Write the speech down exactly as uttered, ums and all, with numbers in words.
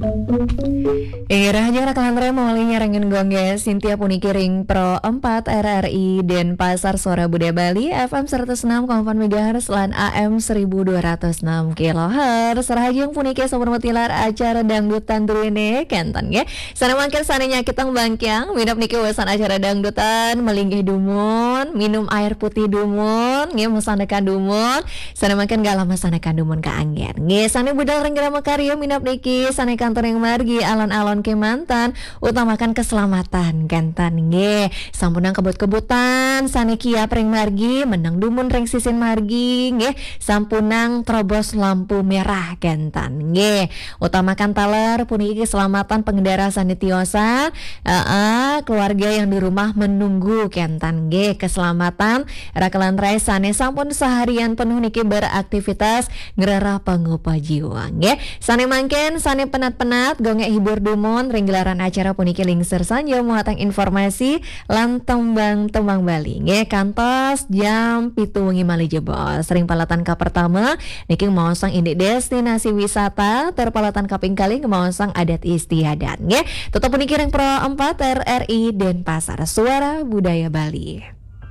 Inggih, rahajeng raka lan raya mawali nyarengin gongge Sintia puniki ring Pro empat R R I Denpasar, Suara Budaya Bali, F M seratus enam koma empat megahertz lan A M seribu dua ratus enam kilohertz. Rahajeng puniki sampun matilar acara dangdutan druene kenten nggih. Sane mangkin sane nyakitang bangkiang, minab niki wesan acara dangdutan, malinggih dumun, minum air putih dumun, nggih, masandekan dumun. Sane mangkin galah masandekan dumun kaanggen. Nggih, sane budal ring grama karya minab niki sane kantun ring margi alon-alon kemanten, utamakan keselamatan kenten nggih. Sampunang kebut-kebutan sane kiap ring margi, meneng dumun ring sisin margi nggih. Sampunang terobos lampu merah kenten nggih. Utamakan taler puniki keselamatan pengendara sane tiosan, heeh, keluarga yang di rumah menunggu kenten nggih. Keselamatan raka lan raya sane sampun seharian penuh niki beraktivitas ngrereh pangupa jiwa nggih. Sane mangkin sane penat-penat gongek hibur dumun ring gelaran acara puniki lingsir sanja muatang informasi lan tembang-tembang Bali nggih. Kantos jam pitu wengi malih jebos ring palatan kapertama niki ngemaosang indik destinasi wisata, tur palatan kaping kalih ngemaosang adat istiadat nggih. Tetep puniki ring Pro empat R R I Denpasar, Suara Budaya Bali.